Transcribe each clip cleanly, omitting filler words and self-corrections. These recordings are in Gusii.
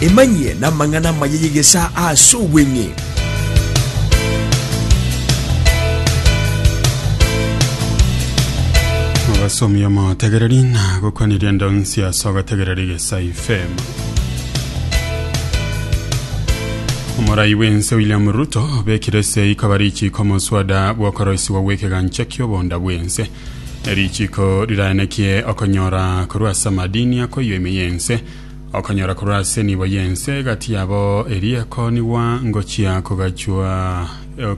Emanyie namang'ana amaya y'egesaa ase obweng'e. Obasomi omotegereri na gokwaniria ndonsi ase ogotegereri Egesaa FM. Omorai bw'ense William Ruto obekire esei koba richiiko omoswada bw'okoroisigwa gw'ekegancha ki'obonda bw'ense. Erichiiko riraenekie okonyora korwa ase amadini akoiywa ime y'ense, okonyora korwa ase enibo y'ense egati yabo eria ekoonigwa ngochia kogachwa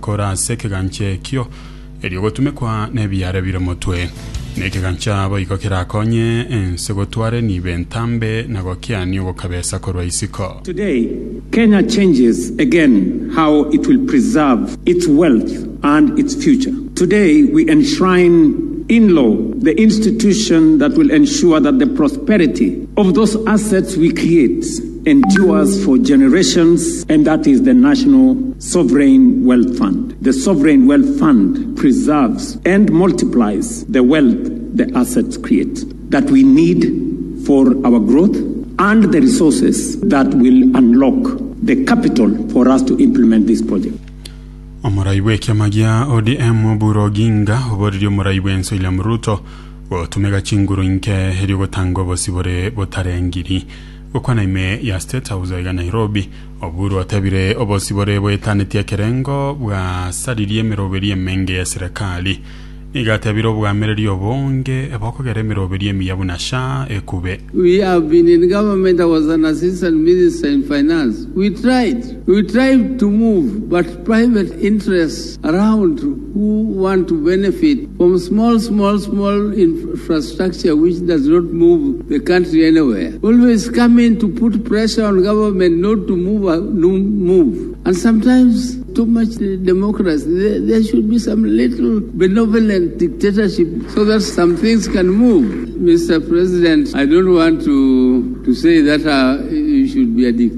kore ase ekegancha ekio erio gotumekwa nebiare bire motwe. Nekegancha boigo kerakonye ense gotwara enibo entambe na gokiania ogokabesa korwa isiko. Today, Kenya changes again how it will preserve its wealth and its future. Today, we enshrine in law the institution that will ensure that the prosperity of those assets we create endures for generations, and that is the National Sovereign Wealth Fund. The Sovereign Wealth Fund preserves and multiplies the wealth the assets create that we need for our growth and the resources that will unlock the capital for us to implement this project. Omorai bw'ekiama gia ODM Oburu Oginga oboririe omorai bw'ense William Ruto gotumeka chinguru inke erio gotanga obosibore botarengiri. Gokwana ime ya State House aiga Nairobi, Oburu otebire obosibore boetanetie ekerengo bwasaririe emeroberi emenge y'eserekari. Nigo atebire obwamereri obonge bokogera emeroberi emiya buna SHA ekube. We have been in government, I was an assistant minister in finance, we tried, we tried to move but private interests around who want to benefit from small, small, small infrastructure which does not move the country anywhere, always come in to put pressure on government not to move, no move. And sometimes too much democracy. There, there should be some little benevolent dictatorship so that some things can move. Mr. President, I don't want to, to say that uh, you should be a dictator.